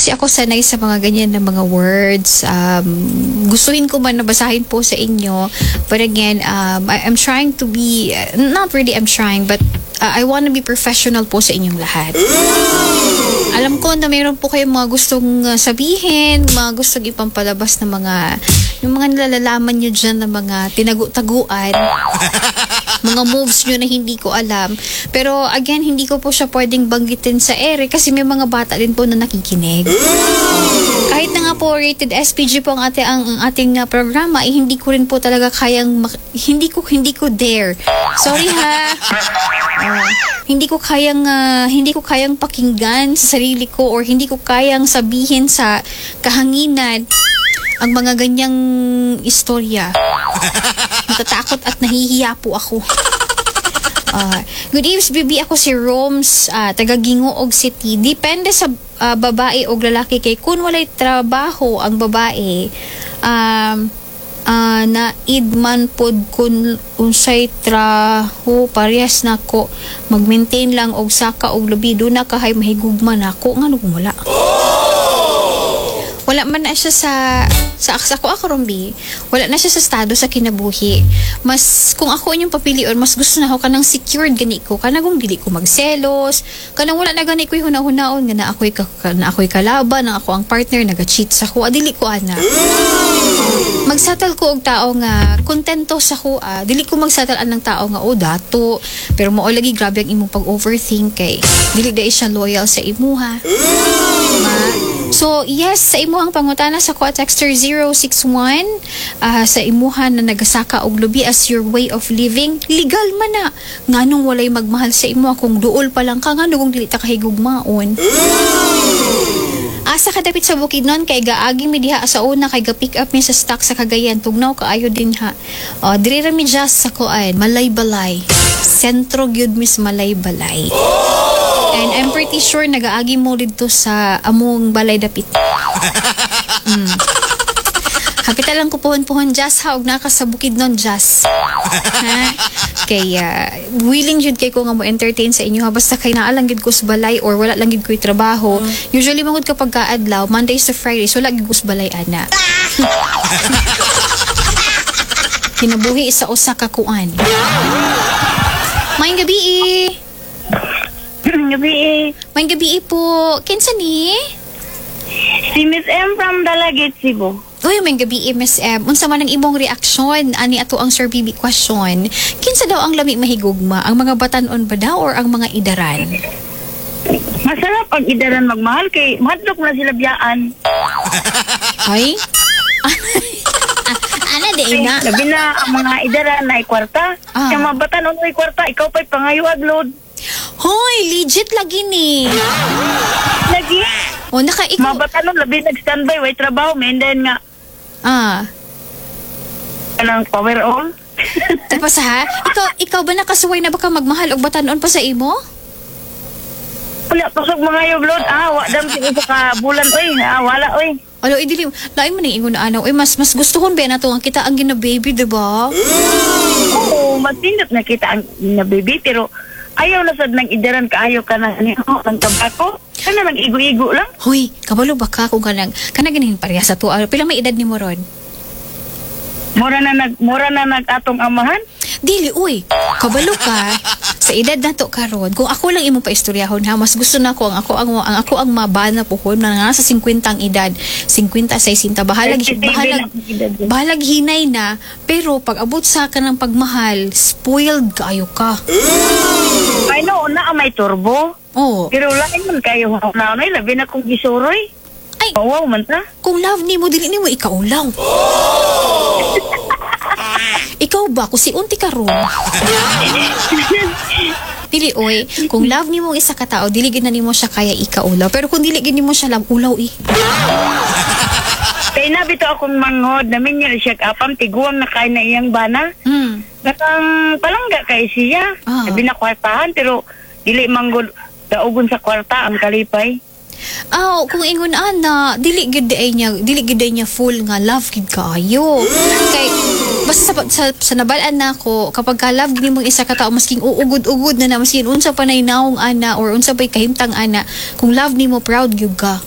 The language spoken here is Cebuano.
kasi ako sanay sa mga ganyan na mga words. Gustuhin ko man na basahin po sa inyo. But again, I'm trying to be, not really I'm trying, but I wanna be professional po sa inyong lahat. Alam ko na mayroon po kayong mga gustong sabihin, mga gustong ipampalabas na mga, yung mga nalalaman nyo dyan na mga tinagu-taguan, mga moves nyo na hindi ko alam. Pero again, hindi ko po siya pwedeng banggitin sa ere kasi may mga bata din po na nakikinig. Kahit na nga po rated SPG po ang ating programa, eh, hindi ko rin po talaga kayang hindi ko dare. Sorry ha. Hindi ko kayang pakinggan sa sarili ko or hindi ko kayang sabihin sa kahanginan ang mga ganyang istorya. Natatakot at nahihiya po ako. Good evening, baby. Ako si Roms, taga Gingoog City. Depende sa babae o lalaki kay kung walay trabaho ang babae, naid man pod kun unsay traho, parehas nako, mag-maintain lang og saka og lubi, do na kahay mahigugma nako. Ngano kung wala? Wala man na siya sa ako ako rombi, wala na siya sa estado sa kinabuhi. Mas kung ako inyong papilion, mas gusto na ako kanang secured gani ko, kanang kung dili ko magselos, kanang wala na gani ko hunahunahon nga na ako'y kalaban, na ako ang partner naga-cheat sa ko, dili ko ana. Magsettle ko og tao nga kontento sa ko, dili ko magsettle anang tao nga, "Oh, dato," pero mao lagi grabe ang imong pag-overthink kay dili dai siya loyal sa imuha. Ma. So, yes, sa imuhang pangutana sa ko texter 061, sa imuha na nagasaka og lubi as your way of living, legal man na. Nganong walay magmahal sa imo kung duol pa lang ka? Ngano kung dili ta kahigugmaon? Asa ka dapit sa Bukidnon kay gaagi mi diha sa una kay ga pick up mi sa stock sa Cagayan? Tugnaw kaayo din ha. Oh, diri ra mi just sa kuan, Malaybalay. Sentro gyud mis Malaybalay. And I'm pretty sure nagaagi mo didto sa among balay dapit. Hapita lang ko puhon-puhon, Jazz, ha, og naka sa Bukidnon, Jazz. Ha? Kay willing jud kay ko nga mo entertain sa inyo ha, basta kay naa lang gid ko sa balay or wala lang gid ko'y trabaho. Usually mangud kapag kaadlaw, Mondays to Fridays, wala gid ko sa balay ana. Kinabuhi sa usa ka kuan. Maayong gabi eh. Gabi eh. Maayong gabi eh po. Kinsa ni? Si Miss M from Dalaguete, Cebu. Uy, maayong gabi eh, Miss M. Unsa man ang imong reaksyon ani ato ang Sir BB question? Kinsa daw ang lami mahigugma? Ang mga batanon ba daw or ang mga idaran? Masarap ang idaran magmahal kay mahadlok na sila biyaan. Ay? Ana di na. Labi na ang mga idaran na kwarta. Ah. Sa mga batanon ay kwarta, ikaw pa'y pangayuag load. Hoy, legit lagi ni. Lagi. O naka ikaw. Mga batanon labi nag-standby, way trabaho, may then nga kanang power all. Tapos ha, ikaw ba nakasuway na ba ka magmahal og batanon pa sa imo? Wala pasok mga load. Ah, wa dam sa isa ka bulan oy. Ah, wala oy. Alo, idili, lain man ang ingon na ana. Uy, mas gustuhon ba na to ang kita ang gina-baby, di ba? Oo, mas nindot na kita ang na baby pero ayaw na sad ng idaran kaayo ka na niyo ng tabako. Kana lang igo-igo lang. Hoy, kabalo ba ka kung kanang ganin pareha sa tuwa? Pila may edad ni mo ron? Mura na nag atong amahan. Dili, uy, kabalo ka sa edad na to karon. Kung ako lang imong paistoryahon ha, mas gusto na ko ang ako ang mabana puhon na nasa 50 ang edad, 50 60, bahalag 37 bahalag ang edad niya. Bahalag hinay na, pero pag abot sa ka ng pagmahal, spoiled kaayo ka. I know na ang may turbo. Oh. Pero lain man kayo na ay labi na kung gisuroy. Ay. Wow man ta. Kung love nimo, dili nimo ikaulaw. Ikaw ba kung si unti karon? Dili oy, kung love nimo ang isa ka tao, dili gid na nimo siya kaya ikaulaw. Pero kung dili gid nimo siya love, ulaw eh. Kay na bitaw akong manghod, namin niya siya apam tiguang na kay na iyang bana. Nakang palangga kay siya. Labi na kwartahan pero dili manggod daugon sa kwarta ang kalipay. Aw, kung ingon ana, dili gid ay niya full nga love gid kaayo. Kay basta sa nabal-an nako, kapag ka love gid nimo isa ka tawo, masking uugod-ugod na na, masking unsa pa nay naong ana or unsa pay kahimtang ana, kung love nimo, proud gyud ka.